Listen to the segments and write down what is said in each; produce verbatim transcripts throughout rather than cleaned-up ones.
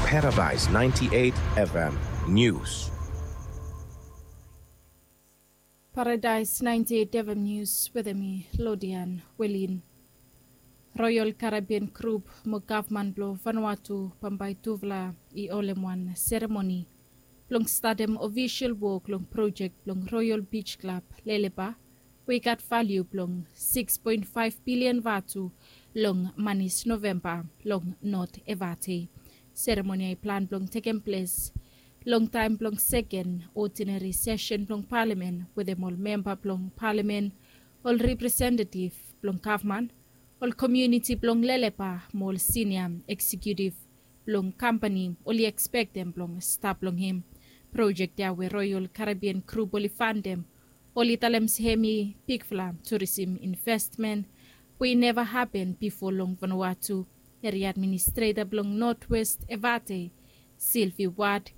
Paradise ninety-eight F M News. Paradise ninety-eight F M News wetem mi, Lodian Welin. Royal Caribbean Group mo gavman blong Vanuatu bambae tufala i holem wan seremoni blong statem ofisol wok long projek blong Royal Beach Club Lelepa, we i gat valiu blong sikis poen faef bilian vatu long manis Novemba long Not Evate. Seremoni ya i plan blong tekem ples long taem blong seken odinari sesen blong palamen wetem ol memba blong palamen, ol representetif blong gavman, ol komuniti blong Lelepa mo ol sinia eksekiutif blong kampani oli ekspektem blong stap long hem. Projek ya we Royal Caribbean Group oli fandem, oli talem se hem i bigfala turisim investmen we i neva hapen bifo long Vanuatu. Eria administreta blong Notwest Evate, Sylvie Ward,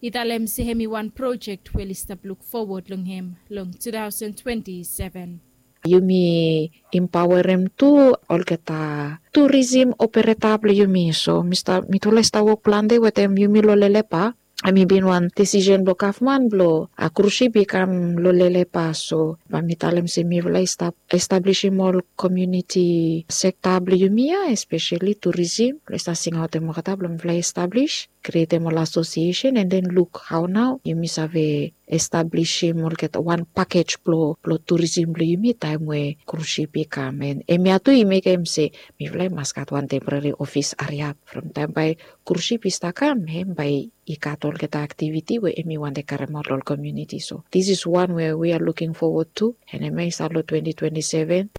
i talem se hem i wan projek we oli stap luk fowod long hem long two thousand twenty-seven. Yumi impaorem tu olgeta turisim opereta blong yumi. So mi stap, mitufala i stap wok plante wetem yumi long Lelepa. Hem i bin wan desisen blong gavman blong a krusip i kam long Lelepa. So bae mi talem se mifala i stap establisim ol komuniti sekta blong yumi ya, espeseli turisim, blong i stap singaotem olgeta blong mifala i establis, krietem ol asosiesen, and then luk hao nao yumi save establisim olgeta wan pakej blong, blong turisim blong yumi taem we krusip i kam. And hemia tu i mekem se mifala i mas gat wan temporeri ofis hariap from taem bae krusip i stap kam, hem bae i gat olgeta aktiviti we hem i wantem karemaot long ol komuniti. So this is one we we are looking forward to, and hemia i stap long twenty twenty-seven.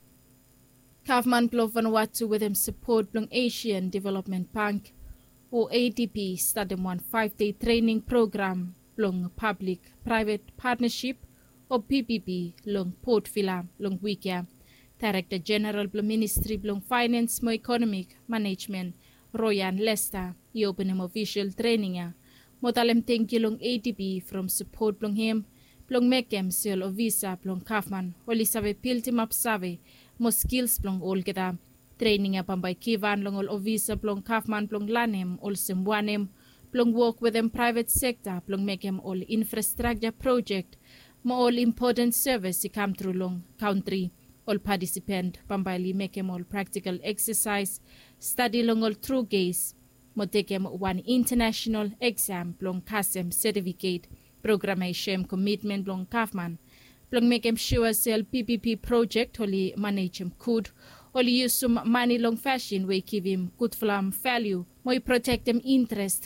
Gavman blong Vanuatu wetem sapot blong Asian Development Bank o A D B statem wan faef dei trening program blong pablik praevet patnasip o P P P long Port Vila long wik ya. Daerekta Jeneral blong Ministri blong Faenans mo Ekonomik Manejmen, Royan Lester, i openem ofisol trening ya mo talem tangkiu long A D B from sapot blong hem blong mekem se ol ofisa blong gavman oli save bildimap save mo skils blong olgeta. Trening ya bambae givhan long ol ofisa blong gavman blong lanem olsem wanem blong wok wetem praevet sekta blong mekem ol infrastrakja projek mo ol impoten sevis i kamtru long kantri. Ol patisipen bambae oli mekem ol praktikal eksasaes, stadi long ol tru kes, mo tekem wan intanasenal eksam blong kasem setifiket. Program ya i soem komitmen blong gavman blong mekem sua se ol P P P projek oli manejem gud, oli yusum mane long fasin we i givim gudfala valiu mo i protektem intrest